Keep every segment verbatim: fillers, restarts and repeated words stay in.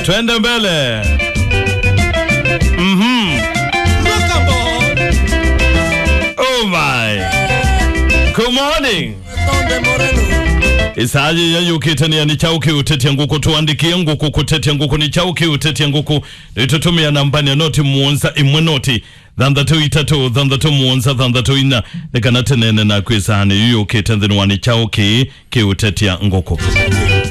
Twende mbele. Mhm. Oh my. Good morning. Ĩsaa yĩĩ yũkĩte nĩ ya nĩ kyaũ kĩũtetya ngũkũ, tũandĩkĩe ngũkũ kũtetya ngũkũ, nĩ kyaũ kĩũtetya ngũkũ. Nĩtũtũmĩa nambani ya noti mũonza ĩmwe noti thanthatũ itatũ thanthatũ mũonza thanthatũ ina, nĩ kana tũneene naku ĩsaanĩ yu yũkĩte nthĩnĩ wa nĩ kyaũ kĩĩ kĩũtetya ngũkũ.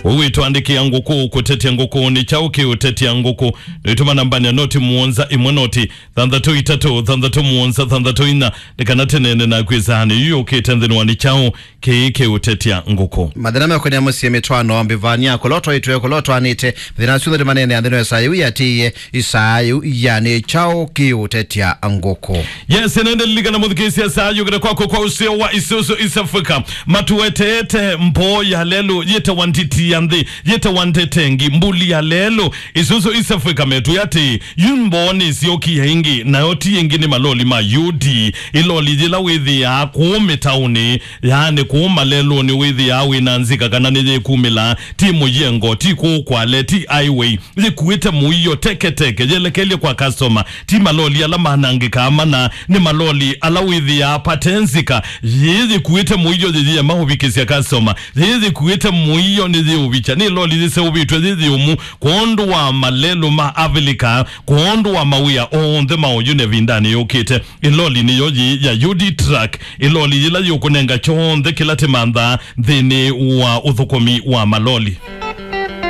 Ũwĩtũandĩkĩa ngũkũ kũtetya ngũkũ, nĩ kyaũ kĩũtetya ngũkũ. Nĩtũma nambani ya noti mũonza ĩmwe noti thanthatũ itatũ thanthatũ mũonza thanthatũ ina, nĩ kana tũneene naku ĩsaanĩ yu yũkĩte nthĩnĩ wa nĩ kyaũ kĩĩ kĩũtetya ngũkũ. Mathĩna mekonĩa mũsyĩ, mĩtwaano, mbĩvania, kũla ũtwaĩtwe, kũla ũtwaanĩte, mathĩna asu onthe tũmaneenea nthĩnĩ wa ĩsaa yĩu yĩatĩĩe, ĩsaa yĩu ya nĩ kyaũ kĩũtetya ngũkũ. Yes, nende lilikana mũthikĩĩsya saa yũkĩte kwaku kwa ũseo wa Isuzu East Africa. Matueteete mboo ya lelũ yĩtawa nditi ya nthĩ, yĩtawa ndetengi, mbuli ya lelũ. Isuzu East Africa metwĩa atĩ, yu mboo nĩsyokie ĩngĩ, nayo ti ĩngĩ nĩ maloli ma U D. Ĩloli yĩla wĩthĩaa kũũ mĩtaũnĩ, yaani kũũ malelũnĩ wĩthĩaa wĩ na nzika kana nĩyĩkumĩlaa, ti mũyengo, ti kũũ Kwale, ti highway, yĩkuĩte mũio teketeke, yelekelye kwa customer, ti maloli ala manangĩkaa mana, nĩ maloli ala wĩthĩaa pate nzika, yĩĩ yĩkuĩte mũio yĩyĩema ũvikĩsya customer, yĩĩ yĩkuĩte mũio nĩyĩũvikya, nĩ loli yĩseũvĩtw'e yĩ yĩũmu, kwondũ wa malelũ ma Avilika, kwondũ wa mawĩa onthe ma ũyu na ĩvindanĩ yũkĩte. Ĩloli nĩyo yĩĩ ya U D truck, ĩloli yĩla yũkũnenga kyonthe kĩla tĩmanthaa nthĩnĩ wa ũthũkũmi wa maloli.